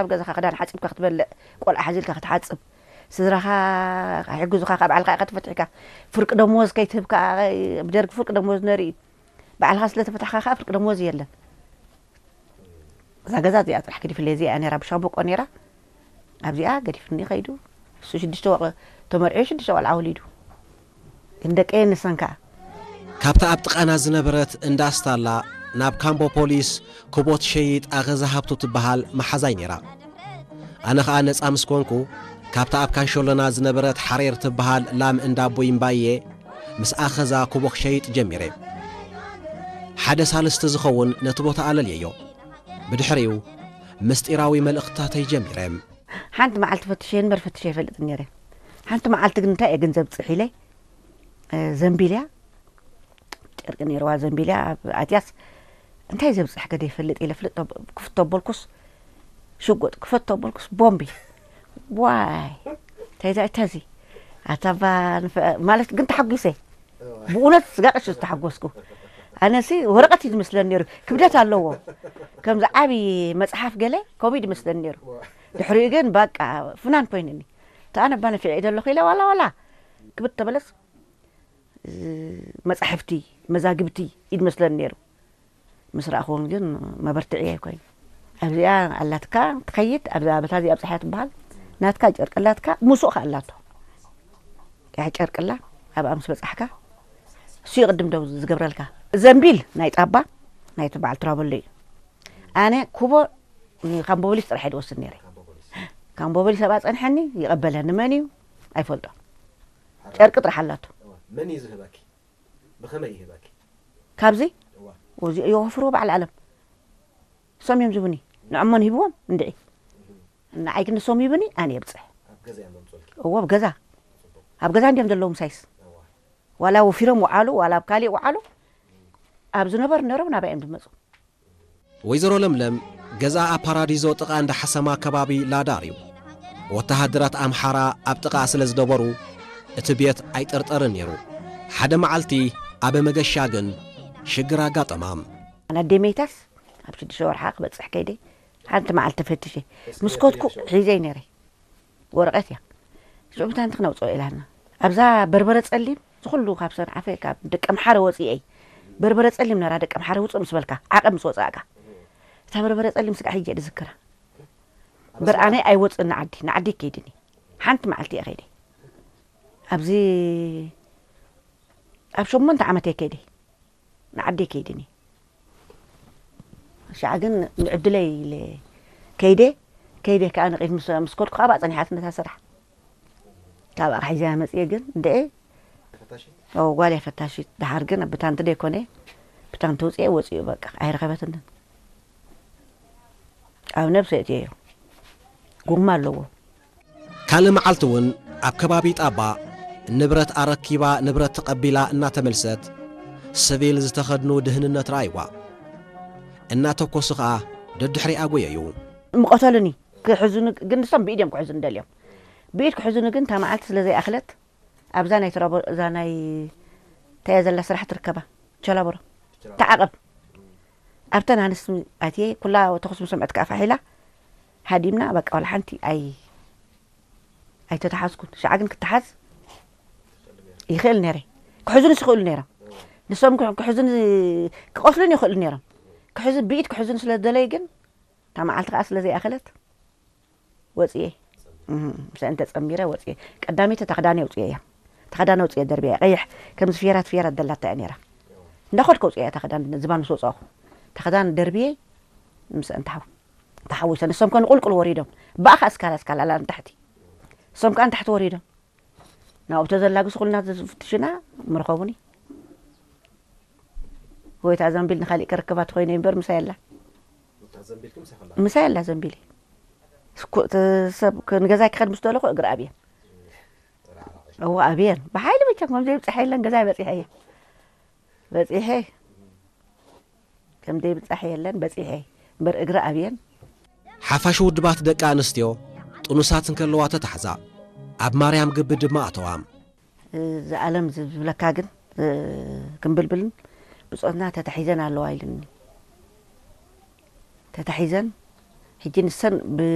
ኣብ ገዛኻ ክዳን ሓጺብካ ክትበልዕ፣ ቆልዓ ሓዚልካ ክትሓጽብ፣ ስድራኻ ክሕግዙኻ፣ ካብ ባዕልኻ ኢኻ ተፈቲሕካ፣ ፍርቂ ደሞዝ ከይትህብ ከኣ፣ ብደርጊ ፍርቂ ደሞዝ ነርኢ፣ ባዕልኻ ስለ ተፈታሕካ ከኣ ፍርቂ ደሞዝ የለን። እዛ ገዛ እዚኣ ጥራሕ ገዲፍለይ፣ እዚኣ ነይራ ብሻምበቆ ነይራ፣ ኣብዚኣ ገዲፍኒ ከይዱ። እሱ ሽዱሽተ ወ-፣ ተመርዕዩ ሽዱሽተ ቆልዓ ወሊዱ። ግን ደቀየ ንሰን ከኣ። ካብታ ኣብ ጥቓና ዝነበረት እንዳ ኣስታላ ናብ ካምቦ ፖሊስ ክቦ ትሸይጥ ኣኸዛ ሃብቱ ትበሃል መሓዛይ ነይራ። ኣነ ኸኣ ነጻ ምስ ኮንኩ፣ ካብታ ኣብ ካንሸሎና ዝነበረት ሓሬር ትበሃል ላም እንዳ ኣቦይ እምባየ ምስ ኣኸዛ ክቦ ክሸይጥ ጀሚረ። ሓደ ሳልስቲ ዝኸውን ነቲ ቦታ ኣለልየዮ። ብድሕሪኡ፣ ምስጢራዊ መልእኽትታተይ ጀሚረ። ሓንቲ መዓልቲ ፈትሸ እምበር ፈትሸ ኣይፈልጥን ነይረ። ሓንቲ መዓልቲ ግን እንታይ እየ ገንዘብ ጽሕ ኢለ፣ እ፣ ዘንቢልያ፣ ጨርቂ ነይርዋ ዘንቢልያ፣ ኣብ ኣትያስ፣ እንታይ ዘብጽሕ ከደ ይፈልጥ ኢለ ፍልጥ፣ ክፍቶ ኣቦልኩስ፣ ሽጉጥ ክፈቶ ኣቦልኩስ፣ ቦምቢ። ዋይ፣ እንታይ እዛ፣ እንታይ እዚ? ኣታ ባ ንፈ-፣ ማለት ግን ተሓጒሰ። ብእውነት ስጋ ቀሺ ዝተሓጎስኩ። ኣነሲ ወረቐት እዩ ዝመስለኒ ነይሩ። ክብደት ኣለዎ። ከምዚ ዓቢ መጽሓፍ ገለ ከምኡ እዩ ዝመስለኒ ነይሩ። ድሕሪኡ ግን በቃ ፍናን ኮይኑኒ። እታ ኣነ እባ ነፊዐ እየ ዘለኹ ኢለ ዋላ ዋላ ክብድ ተበለስ፣ እ፣ መጻሕፍቲ፣ መዛግብቲ እዩ ዝመስለኒ ነይሩ። ምስ ረኣኹውን ግን መበርትዒ ኣይኮይኑ። ኣብዚኣ ኣላትካ ትኸይድ፣ ኣብዛ በታ እዚኣ ኣብጽሓያ ትበሃል። ናትካ ጨርቂ ኣላትካ፣ ሙሱቕ ከኣ ኣላቶ። ያ ጨርቂ ኣላ፣ ኣብኣ ምስ በጻሕካ፣ እሱ ይቕድም ደው ዝገብረልካ። ዘንቢል ናይ ጣባ፣ ናይቲ በዓል ትራበሎ እዩ። ኣነ ኩቦ ንካምቦ ፖሊስ ጥራሕ እየ ዝወስድ ነይረ። ካምቦ ፖሊስ ኣብኣ ጸንሐኒ፣ ይቐበለኒ መን እዩ? ኣይፈልጦ። ጨርቂ ጥራሕ ኣላቶ። እዋ፣ መን እዩ ዝህበኪ? ብኸመይ ይህበኪ? ካብዚ? እዋ። እዚ ይወፍርዎ በዓል ዓለም። እሶም እዮም ዝህቡኒ። ንዕሞን ሂብዎም እንድዒ። ንዓይ ግን ንሶም ሂቡኒ፣ ኣነ የብጽሕ። ኣብ ገዛ እዮም ዘምጽኡልኪ? እዎ፣ ኣብ ገዛ። ኣብ ገዛ እንድዮም ዘለዉ ምሳይስ። እዋ። ዋላ ወፊሮም ወዓሉ፣ ዋላ ኣብ ካሊእ ወዓሉ፣ ኣብ ዝነበሩ ነይሮም ናባይ እዮም ዝመጹ። ወይዘሮ ለምለም ገዛኣ ኣብ ፓራዲዞ ጥቓ እንዳ ሓሰማ ከባቢ ላዳር እዩ። ወተሃደራት ኣምሓራ ኣብ ጥቓ ስለ ዝነበሩ እቲ ቤት ኣይጥርጠርን ነይሩ። ሓደ መዓልቲ ኣበ መገሻ ግን ሽግር ኣጋጠማ። ኣነ ኣደይ መይታስ ኣብ ሽዱሽተ ወርሓ ክበጽሕ ከይደ ሓንቲ መዓልቲ ተፈትሸ ምስ ከድኩ ሒዘይ ነይረ። ወረቐት እያ። ሽዑ ብታንቲ ክነውፅኦ ኢላና። ኣብዛ በርበረ ጸሊም፣ ዝኹሉ ካብ ሰንዓፈ፣ ካብ ደቀምሓረ ወፂኤ። በርበረ ጸሊም ነራ ደቀምሓረ ውፅእ ምስ በልካ፣ ዓቐብ ምስ ወፃእካ። እታ በርበረ ጸሊም ስጋዕ ሕጂ እየ ዝዝክራ። እምበር ኣነ ኣይወፅእን ንዓዲ፣ ንዓዲ ከይድኒ። ሓንቲ መዓልቲ እየ ከይደ። ኣብዚ ኣብ ሸሞንተ ዓመት እየ ከይደ። ንዓደይ ከይድኒ። ሻዕ ግን ንዕድለይ ኢለ ከይደ፣ ከይደ ከኣ ንቕድሚት ምስ፣ ምስ ከድኩ ኣብኣ ጸኒሓትኒ እታ ስራሕ። ካብኣ ሒዘያ መጽየ ግን እንድዒ፣ ፈታሺት? ኦ፣ ጓል እያ ፈታሺት። ደሓር ግን ብታንቲ ደይኮነ፣ ብታንቲ ውጽኤ ወጺኡ በቃ፣ ኣይረኸበትንን። ኣብ ነብሰ እትየዮ። ጎማ ኣለዎ። ካልእ መዓልቲ እውን ኣብ ከባቢ ጣባ ንብረት ኣረኪባ ንብረት ተቐቢላ እናተመልሰት፣ ስቪል ዝተኸድኑ ድህንነት ረኣይዋ። እናተኮሱ ኸኣ ደድሕሪኣ ጎየዩ። ምቐተሉኒ፣ ክሕዙኒ፣ ግን ንሶም ብኢድ እዮም ክሕዙኒ ደልዮም። ብኢድ ክሕዙኒ ግን እታ መዓልቲ ስለ ዘይኣኽለት፣ ኣብዛ ናይ ትራቦ-፣ እዛ ናይ፣ እንታይ እያ ዘላ ስራሕ ትርከባ? ቸላቦሮ። ተዓቐብ። ኣብተን ኣንስቲ ኣትየ፣ ኩላ ተኹሲ ምስ ሰምዐት ከኣ ፋሕ ኢላ፣ ሃዲምና፣ በቃ፣ ዋላ ሓንቲ ኣይ-፣ ኣይተተሓዝኩን። ሻዕ ግን ክተሓዝ ይኽእል ነይረ። ክሕዙንስ ይኽእሉ ነይሮም። ንሶም ክሕ-፣ ክሕዙኒ፣ ክቐትሉኒ ይኽእሉ ነይሮም። ክሕዙ-፣ ብኢድ ክሕዙኒ ስለ ዝደለዩ ግን፣ እታ መዓልቲ ከኣ ስለ ዘይኣኸለት፣ ወጽየ። እህ፣ ምስአን ተጸሚረ ወጽየ። ቀዳመይቲ እታ ክዳነይ ኣውጽየያ። እታ ክዳን ኣውጽየ ደርብያ። ቀይሕ፣ ከምዚ ፌራት ፌራት ደላታ እያ ነይራ። እንዳኸድኩ ኣውጽየያ እታ ክዳን፣ ዝባን ምስ ወጻኹ። እታ ክዳን ደርብየ፣ ምስአን ተሓው-፣ ተሓዊሰ። ንሶም ከ ንቁልቁል ወሪዶም። ብኣኻ እስካላ፣ እስካላ፣ ኣላ ንታሕቲ። ንሶም ከኣ ንታሕቲ ወሪዶም። ናብኡ ተዘላግሱ ኩልና ዝፍትሽና ምረኸቡኒ። ወይ እታ ዘንቢል ንኻሊእ ክርክባ ትኾይነ እምበር ምሳይ ኣላ። እታ ዘንቢልኪ ምሳይ ከላ? ምሳይ ኣላ ዘንቢል። ስኩ-፣ እቲ ሰብ ክ-፣ ንገዛይ ክኸድ ምስ ደለኹ እግሪ ኣብየን። እዋ ኣብየን። ብሓይሊ ብቻ ከም ዘይብጽሐ የለን ገዛይ በጺሐ እየ። በጺሐ። ከም ዘይብጻሕ የለን በጺሐ። እምበር እግሪ ኣብየን። ሓፋሽ ውድባት ደቂ ኣንስትዮ ጥኑሳት እንከለዋ ተታሕዛ። ኣብ ማርያም ግቢ ድማ ኣተዋ። እዚ ዓለም ዝብለካ ግን፣ እ፣ ክምብልብልን ብጾትና ተታሒዘን ኣለዋ ኢሉኒ። ተታሒዘን፣ ሕጂ ንሰን ብ-፣